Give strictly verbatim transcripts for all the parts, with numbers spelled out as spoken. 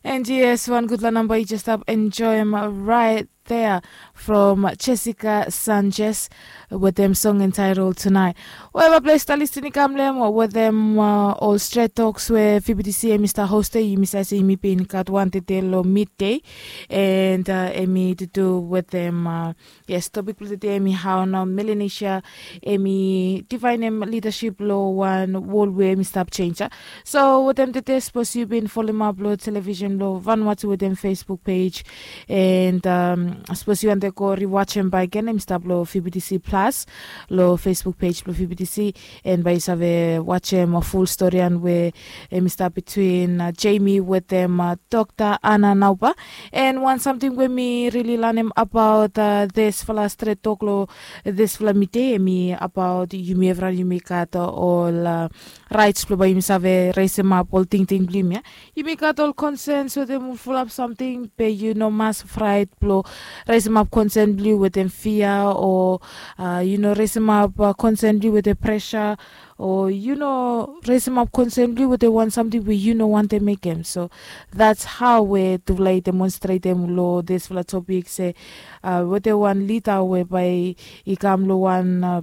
And yes, wan gudfala namba yu jes stap enjoim right there from Jessica Sanchez with them song entitled Tonight. Wel, bai ples talistin i kam long em with them uh, ol stret toks we V B T C em i start host, yumi save se yumi bin gat wan tede long midday, and uh, em i to do with them uh, yes, topik blong tede em i hao nao Melanesia em i divaenem lidaship long wan wol we em i stap chenja. So wetem tede sapos yu bin folemap long television blong Vanuatu wetem Facebook page, and um, sapos yu wante go riwachem baeken em i stap long V B T C Plus long Facebook page blong V B T C, and bai yu save wachem ful storian we em i stap between uh, Jamie wetem uh, Dr. Anna Nauba. And wan samting we mi rili lanem abaot uh, disfala stret tok long disfala midei em i abaot yumi evriwan yumi gat uh, ol uh, raits blong bai yumi save resemap ol tingting blong yumi ya. Yumi gat ol konsens wetem ol fulap samting be yu no mas fraet blong resemap konsen blong yu wetem fia o uh, yu no resemap uh, konsen blong yu wetem presa o yu no resemap konsen blong yu wetem wan samting we yu no wantem mekem. So that's how we tufala i demonstretem long disfala topik se uh, wetem wan lida we bai i kam long wan uh,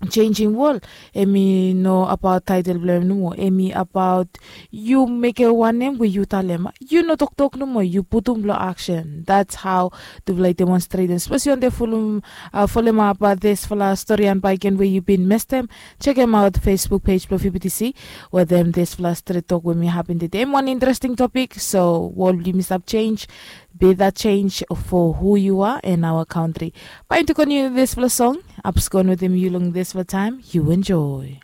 changing world, em i no abaot title blong em nomo, em i abaot yu mekem wanem we yu talem. Yu no toktok nomo, yu putum long action. That's how tufala i demonstrate. Sapos yu wante folem uh, folem up uh, disfala storian baeken we yu bin mestem, chekem aot Facebook page blong V B T C wetem disfala stret tok we mi hapin tede. Em wan interesting topik, so wol blong yumi stap change, be that change for who you are and our country. Bai yu tukon yu disfala song, apskon wetem yu long disfala taem, yu enjoy.